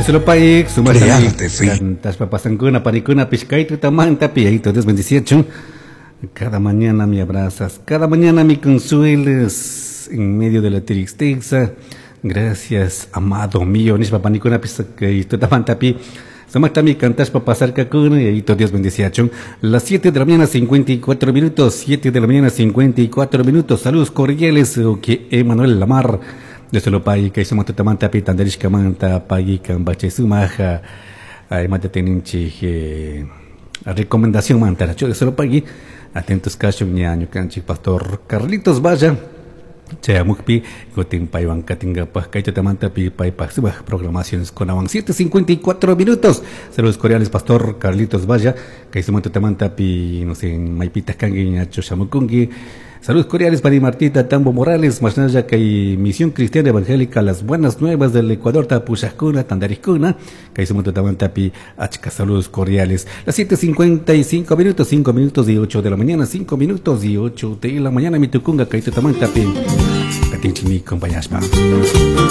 Solo Crearte fiel. Cantashpa pasankuna, panikuna, kay tutamantapi, Yayito Dios bendiciachun. Cada mañana me abrazas, cada mañana me consuelas en medio de la tristeza. Gracias, amado mío. Nishpa panikuna, kay tutamantapi. Sumaktami cantashpa pasarkakuna, Yayito Dios bendiciachun. Las 7 de la mañana, 54 minutos, 7 de la mañana, 54 minutos. Saludos cordiales, que Emanuel Lamar. Desde lo pai kay sumak tutamanta pi tandarishkamanta paykan bachay sumaja imata teninchik recomendación manta de lo pagui atentos kashun ña ñukanchik pastor Carlitos Valla chayamukpi kutin paywan katingapaj kay tutamanta pi paypaj sumak programaciones kunawan. 7:54 minutos. Saludos cordiales, pastor Carlitos Valla, kay sumak tutamanta pi, no sé, maypitaj kanki, ñachu shamukunki. Saludos cordiales para Martita Tambo Morales, mashnalla kay Misión Cristiana Evangélica Las Buenas Nuevas del Ecuador, Tapushajkuna, Tandarishkuna, kay sumak tutamanta pi achka saludos cordiales. Las 7:55 minutos, 5 minutos y 8 de la mañana, 5 minutos y 8 de la mañana, mitukunga kay tutamanta pi, katinchimi compañashpa.